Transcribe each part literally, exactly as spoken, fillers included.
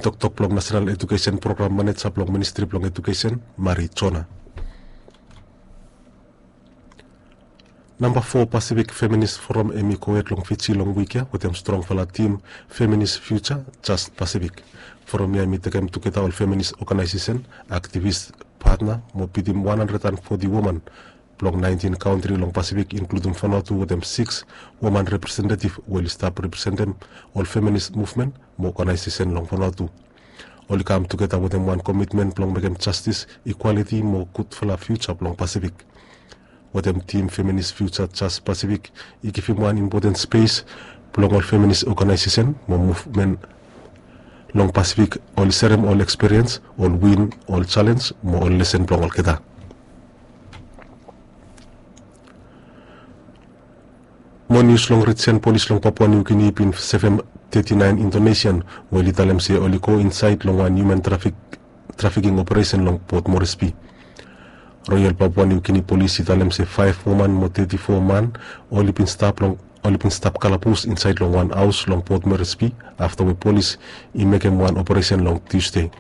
toktok blong National Education Program Maneja blong Ministri blong Education, Mari Jona. Namba fo Pacific Feminist Forum hemi gohed long Fiji long wik ya wetem strongfala tim Feminist Future Just Pacific. Forum ya hemi tekem tugeta ol feminist oganaesesen, aktivis, patna mo bitim wan handred and foti woman blong naentin kantri long Pasifik, inkludim Vanuatu wetem sikis woman representetiv we oli stap representem ol feminist muvmen mo oganaesesen long Vanuatu. Oli kam tugeta wetem wan komitmen blong mekem jastis, ikwaliti mo gudfala fiuja blong Pasifik. Wetem tim Feminist Future Just Pacific i givim wan impoten spes blong ol feminist oganaesesen mo muvmen long Pasifik, oli serem ol ekspiriens, ol win, ol jalenj mo ol lesen blong olgeta. Mo nius long rijen, polis long Papua Niu Gini i bin sevem teti naen Indonesian we oli talem se oli go insaed long wan hiuman trafiking operesen long Port Moresby. Royal Papua Niu Gini Polis i talem se faef woman mo teti fo man oli bin stap long oli bin stap kalabus insaed long wan haos long Port Moresby afta we polis i mekem wan operesen long Tusde.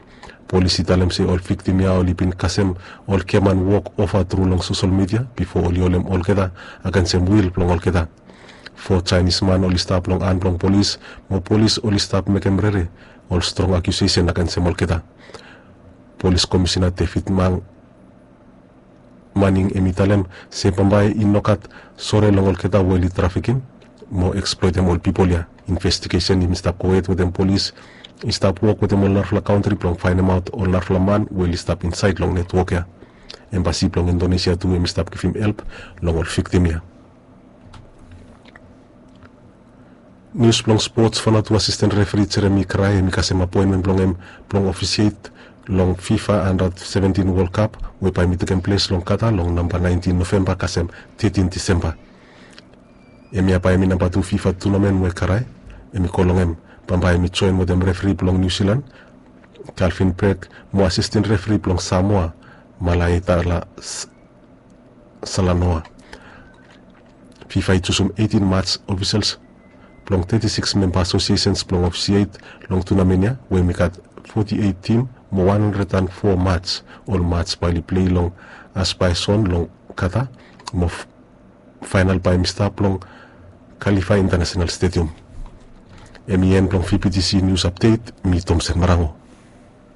Polis i talem se ol viktim ya oli bin kasem ol giaman wok ova tru long sosel midia bifo oli holem olgeta agensem wil blong olgeta. Fo Jaenis man oli stap long han blong polis, mo polis oli stap mekem rere ol strong akiusesen agensem olgeta. Polis Komisina David Mang Maning hemi talem se bambae i nogat sore long olgeta we oli trafiking mo eksploetem ol pipol ya. Investigesen hemi stap gohed wetem polis i stap wok wetem ol narafala kantri blong faenemaot ol narafala man we oli stap insaed long netwok ya. Embasi blong Indonesia tu hemi stap givim help long ol viktim ya. Nius blong spots, Vanuatu asisten refri Jeremy Krai hemi kasem apoenmen blong hem blong ofisiet long FIFA Under seventeen World Cup we bae hemi tekem ples long Qatar long namba naentin Novemba kasem tetin Disemba. Hemia bae hemi namba tu FIFA tunamen we Krai hemi go long hem. Bambae hemi joen wetem refri blong Niu Silan, Calvin Bragg, mo asisten refri blong Samoa, Malaetala Salanoa. FIFA i jusum eitin mats ofisals blong teti sikis memba asosiesens blong ofisiet long tunamen ya we hemi gat foti eit tim mo wan handred and fo mats. Ol mats bae oli plei long Asbae Zone long Qatar, mo faenal bae hemi stap long Khalifa International Stadium. Hemi en blong VBTC Nius Apdet, mi Tomsen Marango.